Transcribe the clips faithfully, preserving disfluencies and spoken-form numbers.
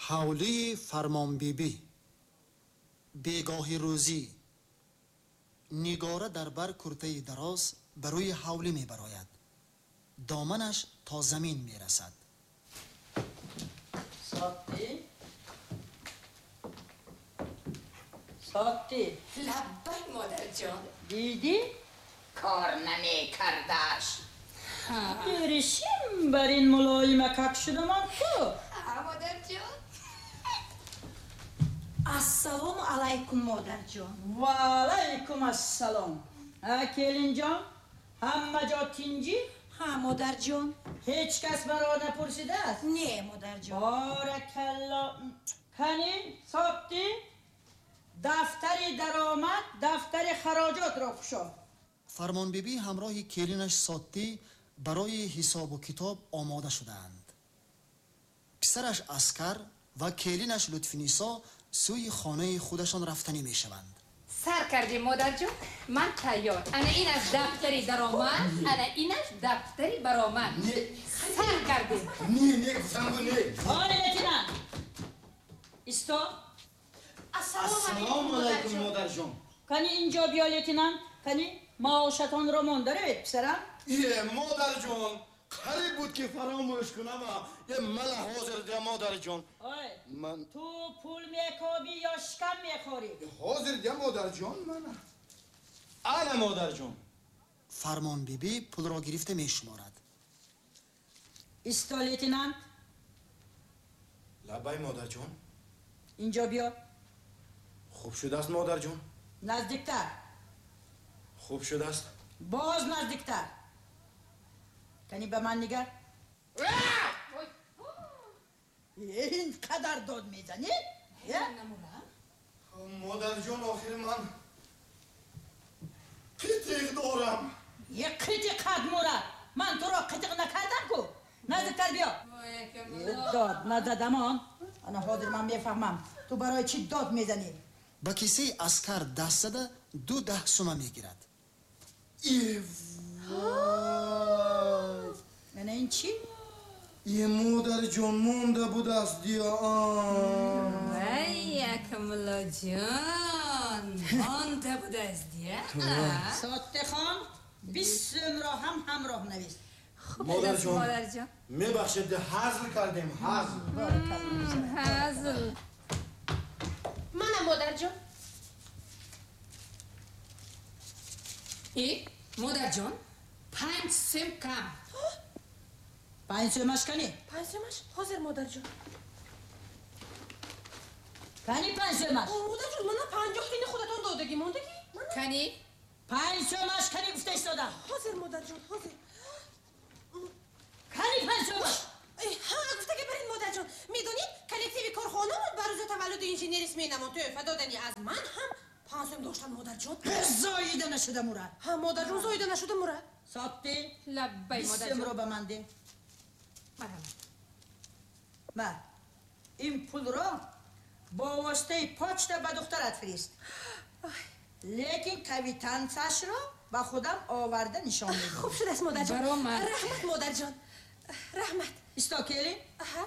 Ҳавлии Фармонбибӣ. Бегоҳи рӯзӣ. Нигора дар бар куртаи дароз ба рӯи ҳавлӣ мебарояд. Доманаш то замин мерасад. Сотти? Сотти? Лаббай, модарҷон. Дидӣ? Кор намекардаш. Беришим бар ин мулоимакак шудамон ку. Модарҷон. Ассалому алайкум, модарҷон. Ва алайкум ассалом. Ҳа, келинҷон, ҳама ҷо тинҷӣ? Ҳа, модарҷон. Ҳеҷ кас маро напурсидааст? Не, модарҷон. Боракалло. Кани, Сотти, дафтари даромад, дафтари хароҷотро кушо. Фармонбибӣ ҳамроҳи келинаш Сотти барои ҳисобу китоб омода шудаанд. Писараш Аскар ва келинаш Лутфинисо сӯи хонаи худашон рафтанӣ мешаванд. Сар кардем, модарҷон, ман тайёр. Ана ин аз дафтари даромад, ана ин аз дафтари баромад. Сар кардем. Не, не, гуфтамгу не. Оре, лейтенант. Исто. Ассалому алайкум, модарҷон. Кани инҷо биё, лейтенант. Кани маошатонро монда равед, писарам. Е, модарҷон, қариб буд ки фаромӯш кунам. Е, мана ҳозир дия, модарҷон. Ой, ман ту пул мекобӣ ё шикам мехӯрӣ? Ҳозир дия, модарҷон, мана. Ана, модарҷон. Фармонбибӣ пулро гирифта мешуморад. Исто, лейтенант. Лаббай, модарҷон. Инҷо биё. Хуб шудааст, модарҷон. Наздиктар. Хуб шудааст. Боз наздиктар. Кани ба ман нигар. Ин қадар дод мезанӣ? Модарҷон, охир ман қитиқ дорам. Е, қитиқ қад мурад. Ман туро қитиқ накардам ку. Наздиктар биё. Дод назадамон. Ана ҳозир ман мефаҳмам. Ту барои чӣ дод мезанӣ? Ба кисаи Аскар даст зада ду даҳ сума мегирад. Вой! Мана ин чӣ? Е, модарҷон, монда будааст дия. Вай, Акмуллоҷон, монда будааст дия. Соттихон, бист сумро ҳам ҳамроҳ навис. Модарҷон, мебахшед, ҳазл кардем, ҳазл. Ҳазл. Мана, модарҷон. Э, модарҷон, панҷ сум кам. Панҷ сумаш кани? Панҷ сумаш? Ҳозир, модарҷон. Кани панҷ сумаш? Модарҷон, мана панҷоҳ тини худатон додагӣ мондагӣ. Кани? Панҷ сумаш кани гуфта истодам. Ҳозир, модарҷон, ҳозир. Кани панҷ сумаш? Ҳа, гуфтагӣ барин, модарҷон. Медонед, коллективи корхонамон ба рӯзи таваллуди инженерис менамон тӯҳфа додани аз ман ҳам панҷ сум доштан, модарҷон. Зоида нашуда мурад. Ҳа, модарҷон, зоида нашуда мурад. Сотти, лаббай, модарҷон. Бист сумро ба ман деҳ. Марҳамат. Ма, ин пулро бо воситаи почта ба духтарат фирист. Лекин квитансияшро ба худам оварда нишон медиҳ. Хуб шудааст, модарҷон. Баромад. Раҳмат, модарҷон. Раҳмат. Исто, келин. Аҳа.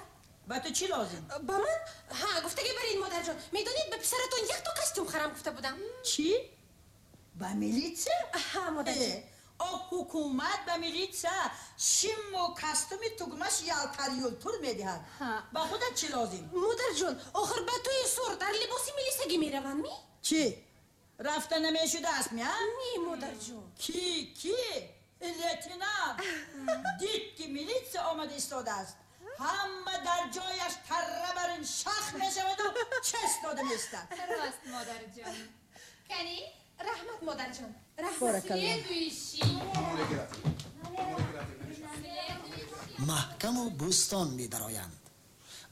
Ба ту чӣ лозим? Ба ман? Ҳа, гуфтагӣ барин, модарҷон. Медонед, ба писаратон якто костюм харам гуфта будам. Чӣ? Ба милитсия? Аҳа, модарҷон. О, ҳукумат ба милитсия шиму костюми тугмаш ялтар юлтур медиҳад. Ба худат чӣ лозим? Модарҷон, охир ба тӯи сур дар либоси милисагӣ мераванд, ми? Чӣ? Рафта намешудааст, ми, а? Не, модарҷон. Ки, ки? Лейтенант дид, ки милитсия омада истодааст. Ҳама дар ҷояш тарра бар ин шах мешаваду чест дода меистад. Рост, модарҷон. Кани? Раҳмат, модарҷон. Раҳмат. Следующий. Маҳкаму Бӯстон медароянд.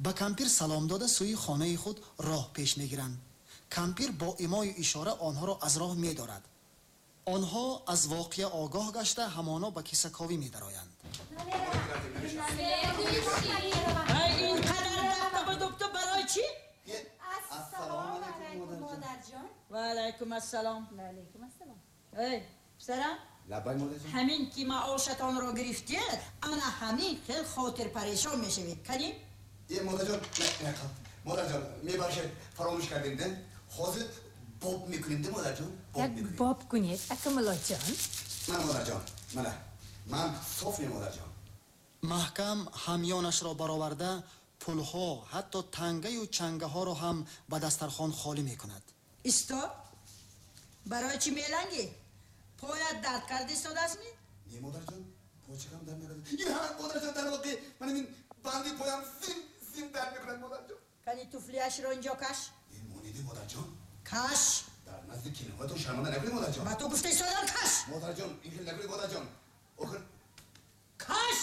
Ба кампир салом дода сӯи хонаи худ роҳ пеш мегиранд. Кампир бо имою ишора онҳоро аз роҳ медорад. Онҳо аз воқеа огоҳ гашта ҳамоно ба кисаковӣ медароянд. Ин қадар дафтабу дубту барои чӣ? Ассалому алайкум, модарҷон. Ва алайкум ассалом. Ва алайкум ассалом. Эй, писарам, Лаббай, модарҷон. Ҳамин ки маошатонро гирифтед, ана ҳамин хел хотирпарешон мешавед. Кани? Е, модарҷон, Модарҷон, мебахшед, фаромӯш кардем, де? Ҳозир боб мекунем, де, модарҷон? Як боб кунед, ака муллоҷон. Мана, модарҷон, мана. Ман соф не, модарҷон. Маҳкам ҳамёнашро бароварда, пулҳо, ҳатто тангаю чангаҳоро ҳам ба дастархон холӣ мекунад. Исто, барои чӣ мелангӣ? Поят дард карда истодаастми? Не, модарҷон, почакам дард накарда. Я, модарҷон, дар воқеъ мана ин банди поям зим зим дард мекунад, модарҷон. Кани туфлияшро инҷо каш. Э, монеди, модарҷон. Каш. Дар назди келинҳоятон шарманда накунед, модарҷон. Ба ту гуфта истодам, каш. Модарҷон, ин хел накунед, модарҷон. Охир каш.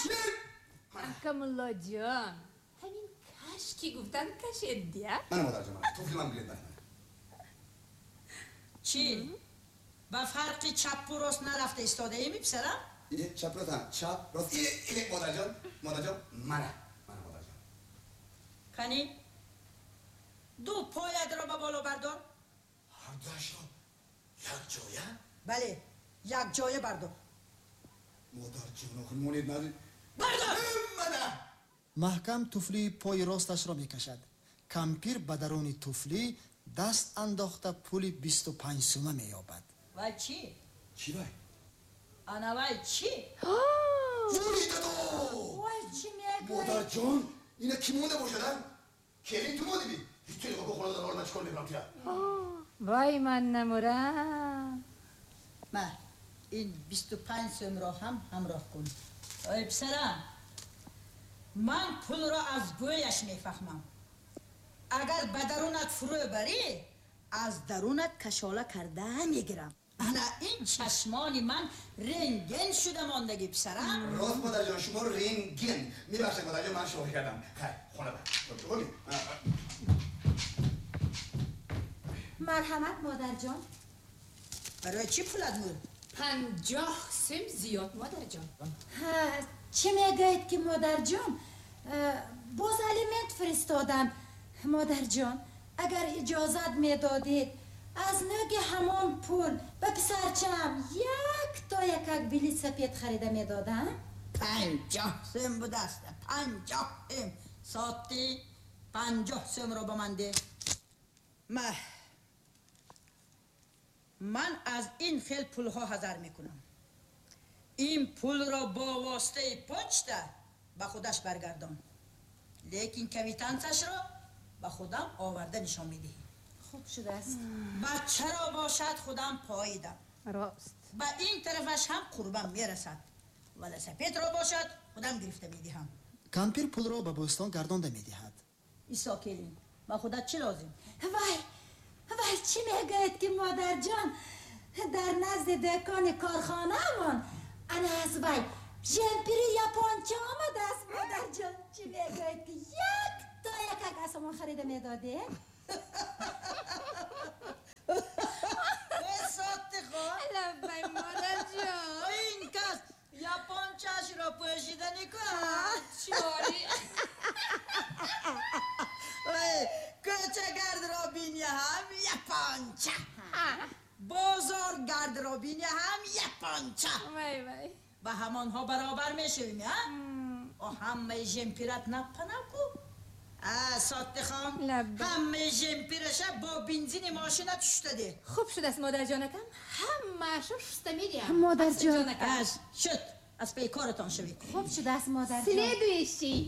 Ака муллоҷон, ҳамин каш ки гуфтан кашед, дия? Мана, модарҷон, мана туфли ман гиред, мана. Чӣ? Ба фарқи чаппу рост нарафта истодаеми, писарам? Э, чап рост, чап рост. Э, э, модарҷон, модарҷон, мана, мана, модарҷон. Кани ду поятро ба боло бардор. Ҳардуашро якҷоя? Бале, якҷоя бардор. Модарҷон, охир монед нази. Бардор! Мана! Маҳкам туфлии пои росташро мекашад. Кампир ба даруни туфлӣ даст андохта пули бисту панҷ сума меёбад. Вай чӣ? Чӣ вай? Ана вай чӣ? Вуй дадо! Вай чӣ мегӯӣ? Модарҷон, ина кӣ монда бошад, а? Келин ту мондиби? Ҳеҷ ту нигоҳ кун, хона дар ман чӣ кор мекунам туя? Вай, ман намурам. Ма, ин бисту панҷ сумро ҳам ҳамроҳ кун. Ой, писарам, ман пулро аз бӯяш мефаҳмам. Агар ба дарунат фурӯ барӣ, аз дарунат кашола карда мегирам. Ана ин чашмони ман рентген шуда мондагӣ, писарам. Рост, модарҷон, шумо рентген. Мебахшед, модарҷон, ман шӯхӣ кардам. Хайр, хона бар. Марҳамат, модарҷон. Барои чӣ пулат мурд? Панҷоҳ сум зиёд, модарҷон. Чӣ мегӯед ки, модарҷон? Боз алимент фиристодам. Модарҷон, агар иҷозат медодед, аз нӯги ҳамон пул ба писарчам як то якак билет сапед харида медодам. Панҷоҳ сум будаст, панҷоҳ сум. Соати панҷоҳ сумро ба ман деҳ. Ма, ман аз ин хел пулҳо ҳазар мекунам. Ин пулро бо воситаи почта ба худаш баргардон, лекин квитансашро ба худам оварда нишон медиҳӣ. Хуб шудааст. Бачаро бошад худам поидам. Рост. Ба ин тарафаш ҳам қурбам мерасад. Велосипедро бошад худам гирифта медиҳам. Кампир пулро ба бӯстон гардонда медиҳад. Исо келин, ба худат чӣ лозим? Вай, вай, чӣ мегӯед ки, модарҷон? Дар назди дӯкони корхонаамон ана аз вай жемпири японча омадааст, модарҷон. Чӣ мегӯед ки як то якак аз ҳамон харида медодед? Лаббай, модарҷон. Ин кас япончаашро пӯшида никунад. Чори. Кӯчагардро бини ҳам японча, бозоргардро бини ҳам японча. Вай, вай. Ба ҳамонҳо баробар мешавем, а? О, ҳамаи жемпират напанаку. Сотихон, ҳамаи жемпираша бо бензини мошинат шуста деҳ. Хуб шудааст, модарҷонакам, ҳамаашро шуста медиҳам. Модарҷон, шуд, аз паи коратон шавед. Хуб шудааст, модарҷон. Следующий.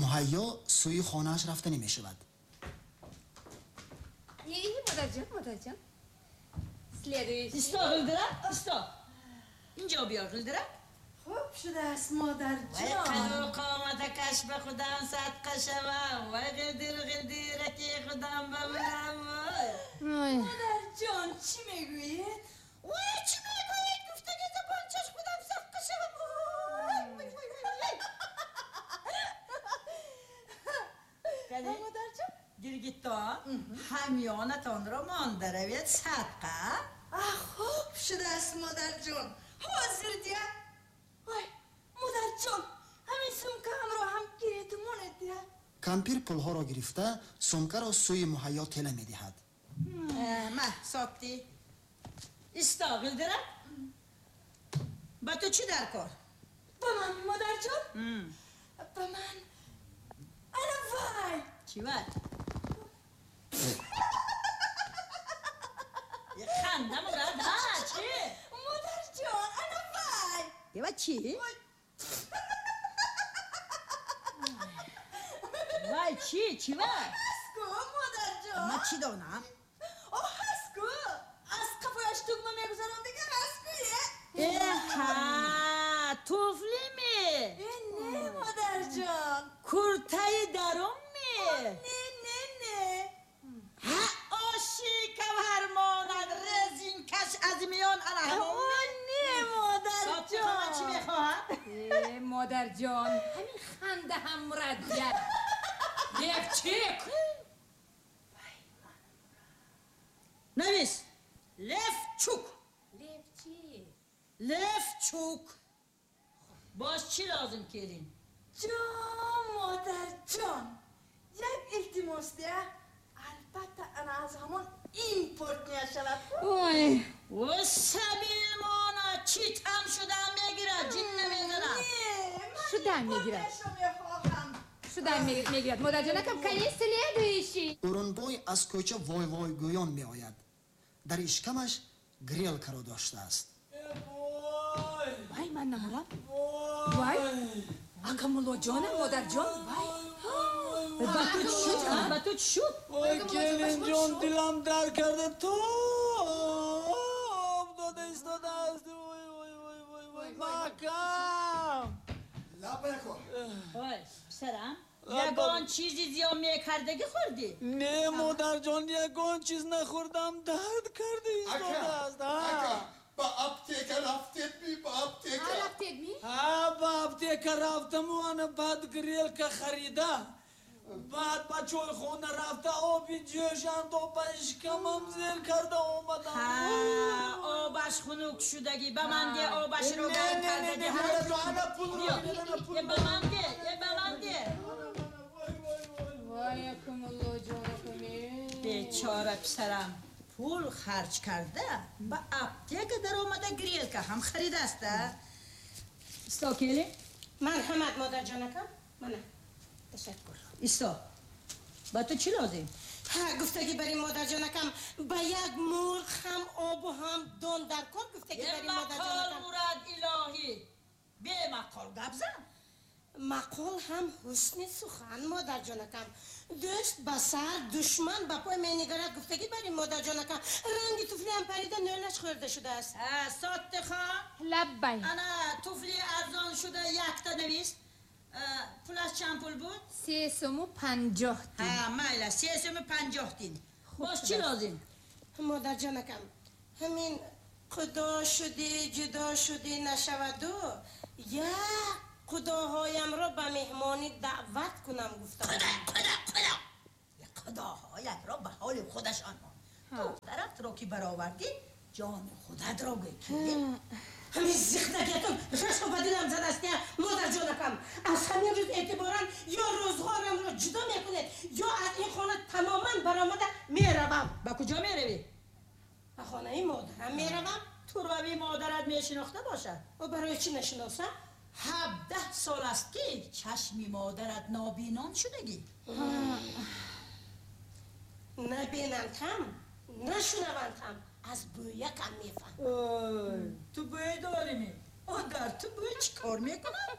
Муҳайё сӯи хонааш рафта намешавад. Модарҷон, модарҷон. Следующий. Исто, Ғилдирак, исто. Инҷо биё, Ғилдирак. Хуб шудааст, модарҷон. Вай қаду қоматакаш ба худам садқа шавам. Вай ғилдир ғилдираки худам ба манам. Модарҷон, чӣ мегӯед? Вай, чӣ мегӯед? Гуфтаги забончаш худам садқа шавам. Модарҷон, Гиргитон, ҳамёнатонро монда равед садқа. Хуб шудааст, модарҷон. Ҳозир дия. Вай, модарҷон, ҳамин сумкаамро ҳам гиред монед дия. Кампир пулҳоро гирифта сумкаро сӯи муҳайё тела медиҳад. Ма, сотти. Исто, Ғилдирак. Ба ту чӣ дар кор? Ба ман, модарҷон? Ба ман. Ана вай, Чӣ вай? Ханда мурад, ҳа, чӣ? Модарҷон, ана вай! Ева чӣ? Вай чӣ? Чӣ вай? Ҳастку, модарҷон. Ман чӣ донам? О, ҳастку! Аз қафояш тугма мегузарам, дигар ҳастку, е? Э, ҳа, туфли ми? Э, не, модарҷон. Куртаи дарун ми? Не, не, не. Ҳа, оши кавҳар монад, резинкаш аз миён ана ҳамон О, не, модарҷон. Чӣ мехоҳад? Э, модарҷон, ҳамин ханда ҳам мурадҷа. Левчик! Навис! Левчук! Левчик! Левчук! Боз чӣ лозим келин? Ҷон, модарҷон, як илтимос дия. Албатта, ана аз ҳамон импорт мешавад. Ой! О, сабил мона, чӣ там шуда мегирад, ҷин намезанад. Не, ман Шуда мегирад. импорташро мехоҳам. Шуда мегирад. Модарҷонакам, кани следующий. Урунбой аз кӯча вой-вой гӯён меояд. Дар ишкамаш грелкаро доштааст. Вай, ман намурам. Вай! Ака муллоҷонам, модарҷон, вай! Ба ту чӣ шуд? Ба ту чӣ шуд? Ой, келинҷон, дилам дар карда, тоб дода истодааст. Ой, ой, ой, ой, ой, маҳкам. Лабако. Ой, писарам, ягон чизи зиён мекардагӣ хӯрдӣ? Не, модарҷон, ягон чиз нахӯрдам, дард карда истодааст. Ака, ба аптека рафтед ми, ба аптека. Рафтед ми? Ҳа, ба аптека рафтаму ана баъд грелка харида. Баъд ба чойхона рафта, оби ҷӯшандо ба ишкамам зер карда омадам. Ҳа, обаш хунук шудагӣ, ба ман де, обашро Не, гарм не, не, кардагӣ. не, модарҷон, ана пулро Биё, бинед, ана е пулро. ба ман де, е ба ман де. Вай, ака муллоҷонакам, э. Бечора писарам, пул харҷ карда, ба аптека даромада грелка ҳам харидааст, а? Исто, келин. Марҳамат, модарҷонакам. Мана. Ташаккур. Исто. Ба ту чӣ лозим? Ҳа, гуфтагӣ бари модарҷонакам, ба як мурғ ҳам обу ҳам дон дар кор, гуфтагӣ Е бари мақол модарҷонакам. мурад илоҳӣ. Бемақол гап зан. Мақол ҳам ҳусни сухан, модарҷонакам. Дӯст ба сар, душман ба пой менигарад, гуфтагӣ бари модарҷонакам. Ранги туфлиам парида, нӯлаш хӯрда шудааст. Ҳа, Соттихон. Лаббай. Ана туфли арзон шуда якта навист. Пулаш чанд пул буд? Се суму панҷоҳ дин. Ҳа, майла, се суму панҷоҳ дин. Боз чӣ лозим? Модарҷонакам, ҳамин худо шудӣ, ҷудо шудӣ нашаваду, як худоҳоямро ба меҳмонӣ даъват кунам гуфтам. Худо, худо, худо. Худоҳоятро ба ҳоли худашон мон. Духтаратро ки баровардӣ, ҷони худатро гӯй ки. Ҳамин зихдагиятон расо ба дилам задаст, я модарҷонакам. Аз ҳамин рӯз эътиборан ё рӯзғорамро ҷудо мекунед, ё аз ин хона тамоман баромада меравам. Ба куҷо меравӣ? Ба хонаи модарам меравам. Турави модарат мешинохта бошад? О, барои чӣ нашиносам? Ҳабдаҳ сол аст ки чашми модарат нобинон шудагӣ. Набинанд ҳам, нашунаванд ҳам, аз бӯякам мефаҳмам. Ой, ту бӯй дорӣ ми? О, дар ту бӯй чӣ кор мекунад?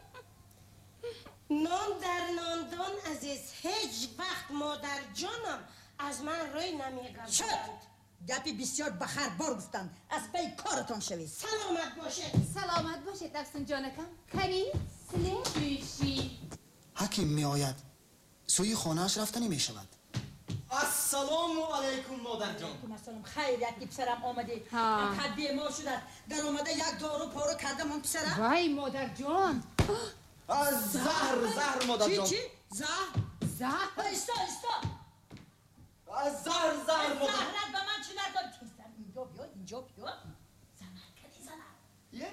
Нон дар нондон азиз, ҳеҷ вақт модарҷонам аз ман рӯй намегардонад. Шуд! Гапи бисёр ба харбор гуфтанд. Аз пайи коратон шавед. Саломат бошед. Саломат бошед, Афсунҷонакам. Кани следующий. Ҳаким меояд. Сӯи хонааш рафтанӣ мешавад. Ассалому алайкум, модарҷон. Алайкум ассалом. Хайр, якди писарам омадӣ. Ҳа. Қад бемор шудааст. Даромада як дору пору кардам он писарам. Вай, модарҷон. Заҳр, заҳр, Чӣ, модарҷон. чӣ? Заҳр? Заҳр? Исто, исто. Заҳр, заҳр, модар. Заҳрат ба ман чӣ дар кор? Тезтар инҷо биё, инҷо биё. Занак, кани занак. Е?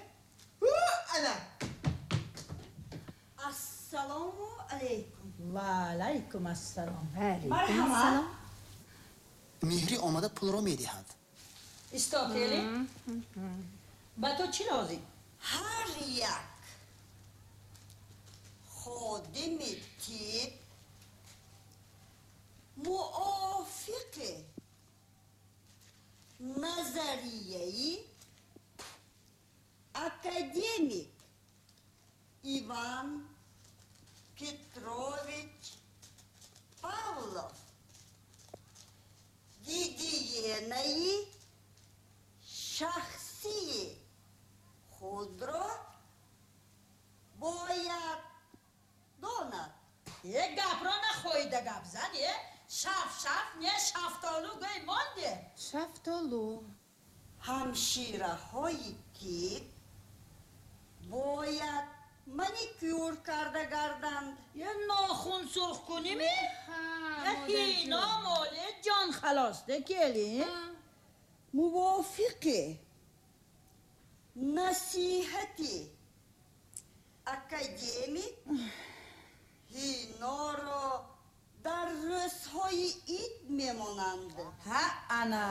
Ана. Ассалому алайкум. Ва алайкум ассалом. Марҳамат. Меҳрӣ омада пулро медиҳад. Исто, келин. Ба ту чӣ лозим? Ҳар як ходими тиб гапро нахоҳида гап зан, е? Шаф, шаф, не шафтолу гӯй монде. Шафтолу. Ҳамшираҳои тиб бояд маникюр карда гарданд. Е нохун сурх куними? Ҳино моле ҷон халосде келин. Мувофиқи насиҳати академик ҳиноро дар рӯзҳои ид мемонанд. Ҳа, ана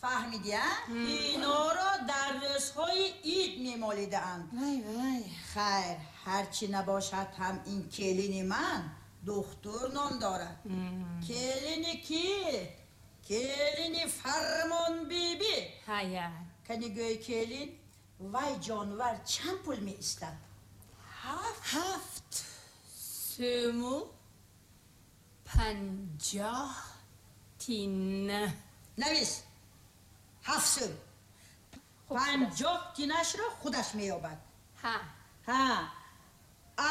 фаҳмидия? Ҳиноро дар рӯзҳои ид мемолидаанд. Вай вай. Хайр, ҳарчи набошад ҳам ин келини ман духтур ном дорад. Келини ки? Келини Фармонбибӣ. Ҳая. Кани гӯй келин, вай ҷонвар чанд пул меистад? Ҳафт. Ҳафт сӯму панҷоҳ тин. Навис. Ҳафт сӯм. Панҷоҳ тинашро худаш меёбад. Ҳа. Ҳа.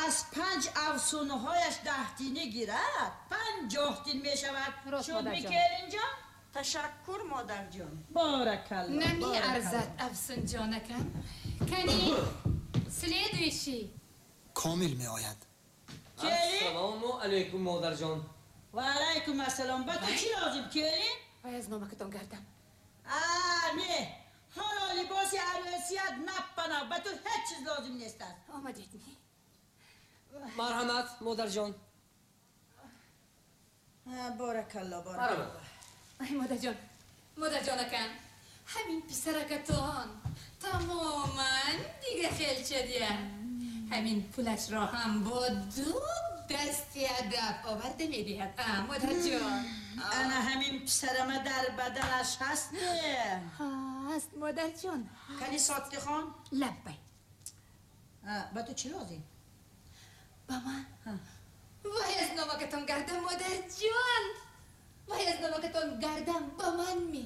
Аз панҷ афсунҳояш даҳ тинӣ гирад, панҷоҳ тин мешавад. Шуд ми келинҷон? Ташаккур, модарҷон. Баракалло. Намеарзад афсунҷонакам. Кани следующий. Комил меояд. Ассалому алайкум, модарҷон. Ва алайкум ассалом. Ба ту чӣ лозим, келин? Вай аз номакатон гардам. А, не. Ҳоло либоси арӯсият наппана. Ба ту ҳеҷ чиз лозим нест аст. Омадед ми? Марҳамат, модарҷон. Баракалло, баракалло. Ай, модарҷон, модарҷонакам, ҳамин писаракатон тамоман дига хелчадия. Ҳамин пулашро ҳам бо ду дасти адаб оварда медиҳад. А, модарҷон. Ана ҳамин писарама дар баданаш ҳаст не? Ҳаст, модарҷон. Кани Соддихон? Лаббай. Ба ту чӣ лозим? Ба ман? Вай аз номакатон гардам, модарҷон. Вай аз номакатон гардам, ба ман ми?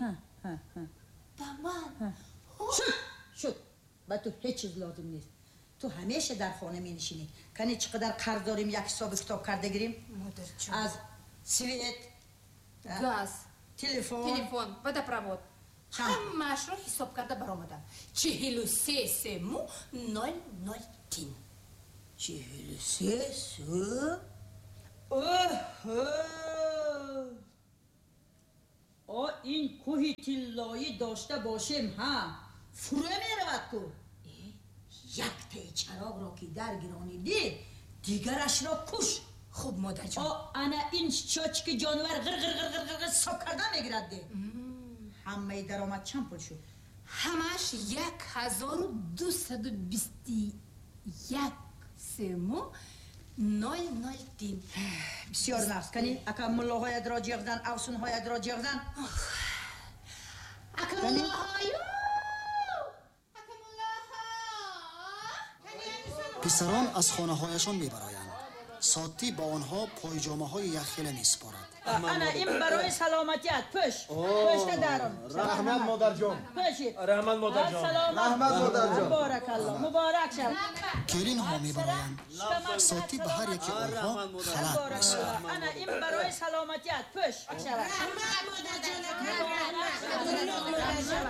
Ба ман? Шуд, шуд. Ба ту ҳеҷ чиз лозим нест. Ту ҳамеша дар хона менишинӣ. Кани чӣ қадар қарз дорем, як ҳисобу китоб карда гирем? Модарҷон. Аз свет, газ, телефон, телефон, водопровод. Ҳамаашро ҳисоб карда баромадам. Чиҳилу се сему нол нол тин. Чиҳилу се сум? Оҳо! О, ин кӯҳи тиллоӣ дошта бошем, ҳа, фурӯ меравад ку. Яктаи чароғро ки даргиронидӣ, дигарашро куш. Хуб, модарҷон. О, ана ин чочки ҷонвар ғир-ғир-ғир-ғир ҳисоб карда мегирад де. Ҳамаи даромад чанд пул шуд? Ҳамааш як ҳазору дусаду бисту як сему нол нол тин. Бисёр нафс. Кани ака муллоҳоятро ҷиғ зан, афсунҳоятро ҷиғ зан. Ака муллоҳою! Писарон аз хонаҳояшон мебароянд. Сотӣ ба онҳо пойҷомаҳои яххела месупорад. Ана ин барои саломатият. Пӯш. Пӯшта дарон. Раҳмат, модарҷон. Пӯшид. Раҳмат, модарҷон. Раҳмат, модарҷон. Баракалло. Муборак шав. Келинҳо мебароянд. Сотӣ ба ҳар яки онҳо халат месупорад. Ана ин барои саломатият. Пӯш. Раҳмат, модарҷон. Раҳмат, модарҷон.